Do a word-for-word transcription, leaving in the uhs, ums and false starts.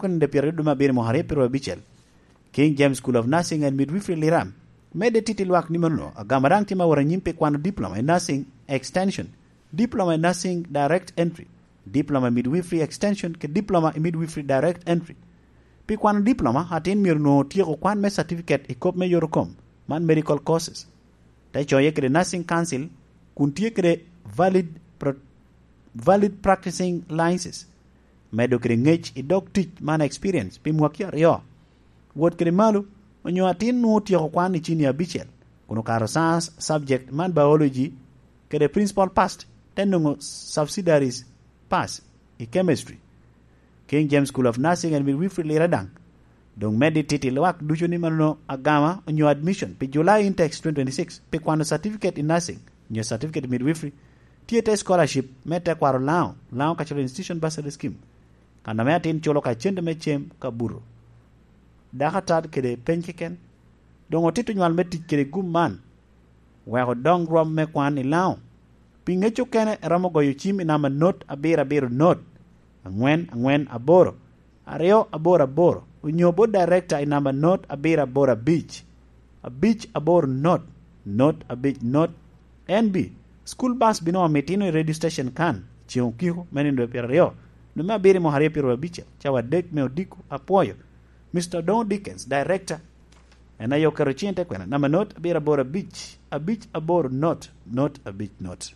Kun de pyero duma abiro mo aryo pyero abicel. King James School of Nursing and Midwifery Liram. Medde titi lwak ni mano, agama daŋ tye ma wot anyim pi kwano diploma i nursing extension, diploma i nursing direct entry, diploma i midwifery extension, ke diploma i midwifery direct entry. Pi kwano diploma, atin myero nwoŋo otyeko kwan me certificate i kop me yotokom, man medical courses. Te coye kede nursing council, kun tye kede valid, pro- valid practicing licenses. Medo kede ŋec i dog tic man experience pi mwaki aryo. Wot kede malo, onyo atin nwoŋo otyeko kwan i cini abicel, kun okato science subject man biology, kede principal past, te nwoŋo subsidiaries pass i chemistry. King James School of Nursing and Midwifery Lira daŋ. Doŋ medde titi lwak ducu ni mano agama onyo admission pi July Intex twenty twenty-six pi kwano certificate in nursing onyo certificate in midwifery. Tye te scholarship me tekwaro Lango, Lango Cultural Institution Bursary Scheme. Kan ame atin culo ka cente me cem ka buto. Dako atat kede peny keken. Doŋ otito nywal me tic kede gum man. Wek odoŋ rwom me kwan i Lango. Pi ŋec okene, iromo goyo cim i namba not abiro abiro not, angwen angwen aboro, aryo aboro aboro, onyo bot director i namba not abiro aboro abic, abic aboro not, not abic not. N B, school bus bino omitino i radio station kan, ceŋ okiko me nino pyeraryo, lume abiro i mwaka aryo pyeraryo abic, cawa adek me odiko, apwoyo. Mister Odongo Dickens, director, en aye oketo ciŋ i te kwena, namba not abiro aboro abic, abic aboro not, not abic not.